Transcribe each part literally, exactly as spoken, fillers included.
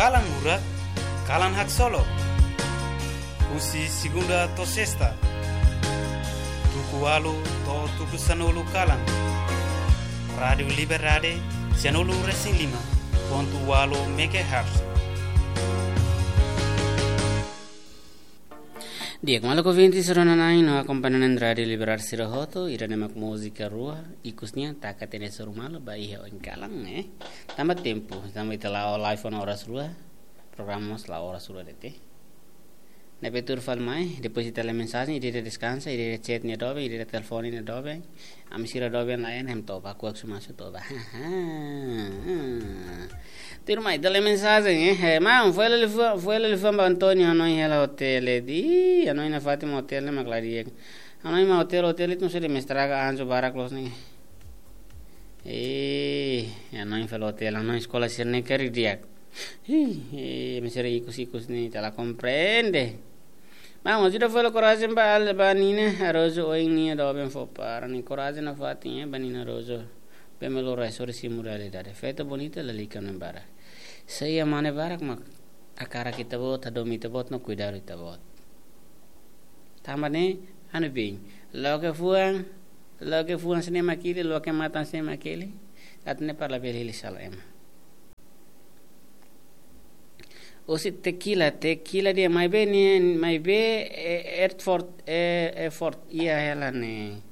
Kalan Lurak, Kalan Haksolok. Husi segunda to'o sesta, tuku ualu to'o tuku sanulu kalan. Rádiu Liberdade, sanulu resin lima pontu ualu megahertz. Di'ak maluk ouvinte sira-ne'e, no akompaña Rádiu Liberdade sira hotu, ida-ne'e mak múzika rua, ikus nian taka tiha ona suru malu ba iha oin kalan, eh. Tanba tempu, tanba ita la'o live ona oras rua, programa mós la'o oras rua de'it. Ne'ebé tuur fali mai, depois ita lee mensajen, ida-idak deskansa, ida-idak chat nia doben, ida-idak telefone nia doben. Ami sira doben lain, hem toba, kuak sumasu toba. Tuur mai, ita lee mensajen, eh. Eh, maun, foin hela liafuan, foin hela liafuan ba António, hanoin hela hotel, eh, di, hanoin nafatin mak hotel ne'e mak la di'ak. Hanoin mak hotel, hotel ita mós sei de'it mak estraga anjo barak loos ne'e. Eh, hanoin fali hotel, hanoin eskola sira-ne'e karik di'ak. Ih, eh, ami sira ikus-ikus ne'e, ita la komprende. Maun, ajuda fó korajen ba, ba Nina Araújo, oin nia doben fó para nia korajen nafatin, eh, ba Nina Araújo. Bem melhor é só de simu realidade. Feto bonita, lalika no embara. Sei a mane barak mak hakarak ita-boot, hadomi ita-boot, no kuidadu ita-boot. Tanba ne'e, anu bin. Loke fuan, loke fuan sira-ne'e mak hili, loke matan sira-ne'e mak hili. Atu ne'e para labele hili sala ema. Husi Tequila, Tequila dehan maibé ne'e, maibé, eh, Airport, eh, Airport, iha hela ne'e.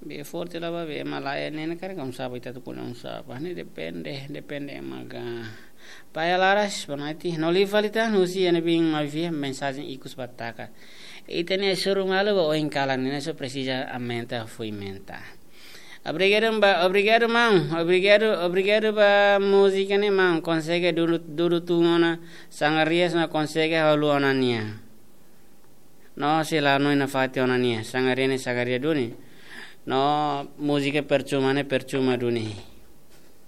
Be forte la ba, be malae ne'e, ne'e karik kamu saba ita tu kuna um saba. Ne'e depende, depende ema ga. Paya laras, boa noite. No li fali tan, husi ene bin mavia, mensajen ikus ba taka. Ita-nia suru malu ba oin kalan, ne'e só presiza aumenta, fui menta. Obrigadu ba, obrigadu maun, obrigadu, obrigadu ba múzika ne'e maun, konsege dudu, dudu tun ona, sangarias no konsege halo ona nia. No sei la hanoin nafatin ona nia, sangaria ne'e sangaria duni. No múzika percuma ne'e percuma duni.